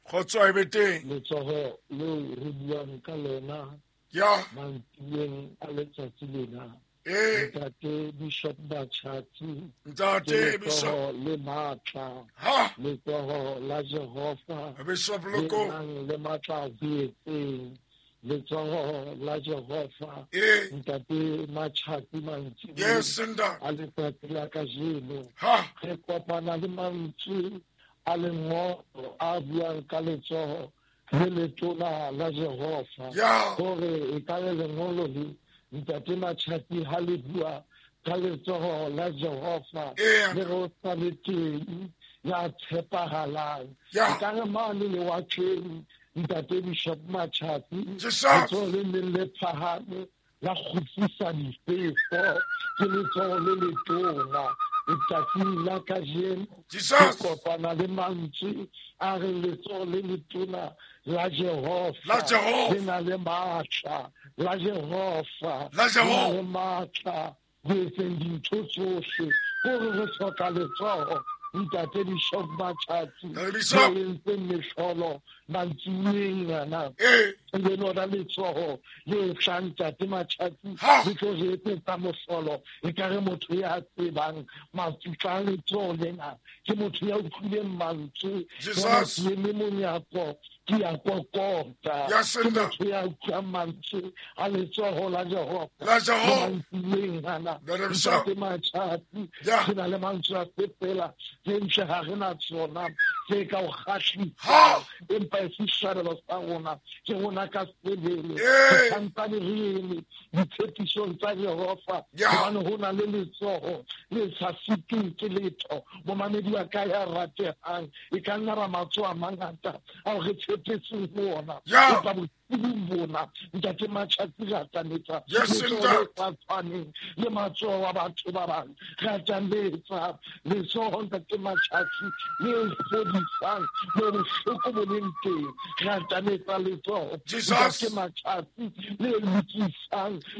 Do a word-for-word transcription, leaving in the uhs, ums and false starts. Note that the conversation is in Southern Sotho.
Kgotso e be teng. Letsoho leo re buang ka lona Ya. mantsiboyeng a letsatsi lena. Eh. Ntate Bishop Machatsi. Ntate Bishop. Letsoho le matla. Ha. Letsoho la Jehova. Bishop Le Loko. nang le matla ho etseng. Letsoho la Jehova. Eh. Ntate Machatsi mantsiboyeng Yes, ntate. a letsatsi la kajeno. Ha. Re kopana le mantswe a lengolo a buang ka letsoho le letona la Jehova. Ya. Hore e ka le lengolo le ntate Machatsi ha le bua ka letsoho la Jehova Ee. le re o sa le teng ya tshepahalang. Ya. E ka re mane lewatleng ntate Bishop Machatsi Jesus. letsoho le leng le phahame la kgutlisa difefo ke letsoho le letona. Letsatsing la kajeno Jesus. re kopana le mantswe a re letsoho le letona la Jehova La Jehova. le na le matla la Jehova La Jehova. le na le matla ho etseng dintho tsohle. Hore re hloka letsoho ntate Bishop Machatsi Ntate Bishop. le entseng mehlolo mantsiboyeng ana. Eh. Le lona letsoho le tlang ntate Machatsi Ha. le tlo re etsetsa mohlolo. Ekare motho ya tsebang matsutla a letsoho lena ke motho ya utlwileng mantswe. Jesus. Jwale ke eme monyako ke ya kokota. Yes, Ke ntate. motho ya utlwang mantswe a letsoho la Jehova. La Jehova. Mantsiboyeng ana Ntate Bishop. ntate Machatsi Ya. re na le mantswe a fepela tse ntle ha re na tsona tse ka o kgahlisa. Ha. Empa e se sehlabelo sa rona ke rona ka sebele. Eh. Re santsane re eme ditshepisong tsa Jehova. Ya. Hobane ho na le letsoho le sa sitweng ke letho. Momamedi wa ka ya ratehang e ka nna ra matsoho a mangata ao re tshepetseng ho ona. Ya. Empa bosiung bona ntate Machatsi re atametsa Yes, letsoho ntate. le sa tshwaneng le matsoho a batho ba bang. Re atametsa letsoho ntate Machatsi le fodisang mo bohloko bo leng teng. Re atametsa letsoho Jesus. ntate Machatsi le lokisang